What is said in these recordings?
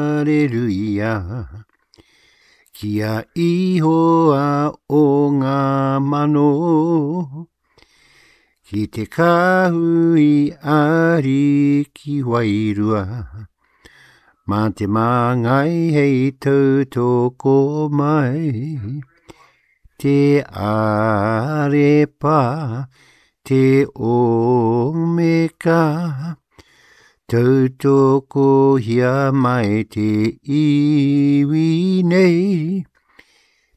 Areruia. Ki a Ihoa o ngā mano, ki te kāhui ariki wairua, mā te māngai hei tautoko mai, te arepa, te omeka, Tautokohia mai te iwi nei,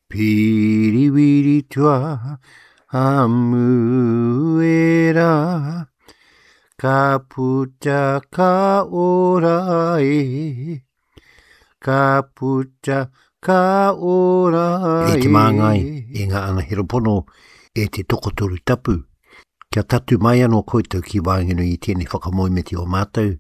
Piriwiri tua Hamuera, Ka puta ka ora e, Ka puta ka ora E e. te māngai, e ngā anahera pono, e te tokotoru tapu, Kia tatū mai anō koutou ki waenganui i tēnei whakamoemiti o mātou,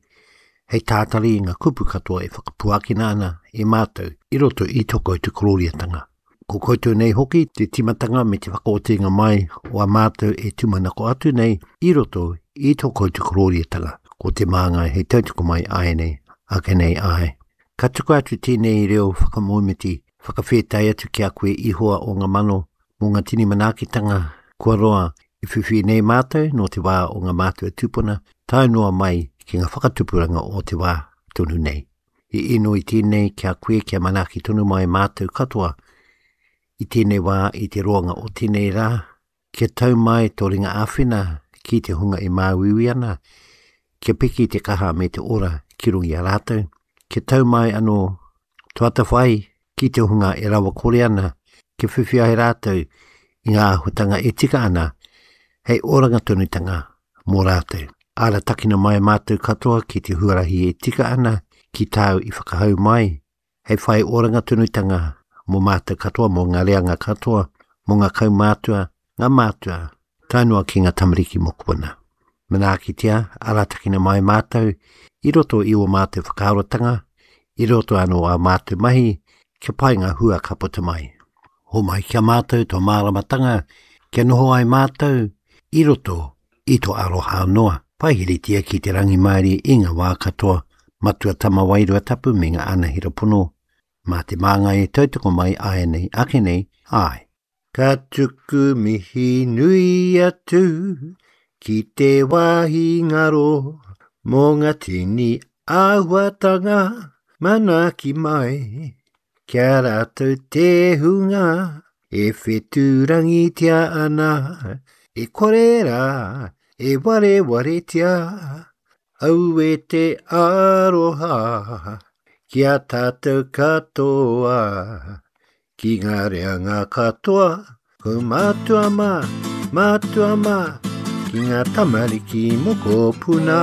hei tātari i ngā kupu katoa e whakapuakina ana e mātou i roto i tō koutou korōriatanga. Ko koutou nei hoki te tīmatanga me te whakaotinga mai o a mātou e tūmanako atu nei i roto i tō koutou korōriatanga, ko te māngai hei tautoko mai āianei, ake nei āe. Ka tukua atu tēnei reo whakamoemiti, whakawhētai atu ki a koe Ihoa o ngā mano, mō ngā tini manaakitanga kua roa i whiwhi nei mātou nō te wā o ngā mātua tūpuna tae noa mai ki ngā whakatupuranga o te wā tonu nei. I inoi tēnei ki a koe kia manaaki tonu mai mātou katoa i tēnei wā i te roanga o tēnei rā, kia tau mai tō ringa āwhina ki te hunga e māuiui ana, kia piki te kaha me te ora ki runga i a rātou, kia tau mai anō tō atawhai ki te hunga e rawakore ana, kia whiwhi ai rātou i ngā āhuatanga e tika ana hei oranga tonutanga mō rātou. Aratakina mai mātou katoa ki te huarahi e tika ana ki tāu i whakahau mai, hei whai oranga tonutanga mō mātou katoa, mō ngā reanga katoa, mō ngā kaumātua, ngā mātua, tae noa ki ngā tamariki mokopuna. Manaakitia, aratakina mai mātou i roto i ō mātou whakaarotanga, i roto anō ā mātou mahi, kia pai ngā hua ka puta mai. Homai ki a mātou tō māramatanga, kia noho ai mātou i roto i tō aroha noa. Paihiritia ki te rangimārie i ngā wā katoa, Matua Tama Wairua Tapu me ngā anahera pono, mā te māngai e tautoko mai āianei ake nei, āe. Ka tuku mihi nui atu ki te wāhi ngaro mō ngā tini āhuatanga manaaki mai ki a rātou te hunga e whetūrangitia ana, e kore rā e warewaretia. Aue te aroha ki a tātou katoa. Ki ngā reanga katoa, ko mātua mā, mātua mā, ki ngā tamariki mokopuna.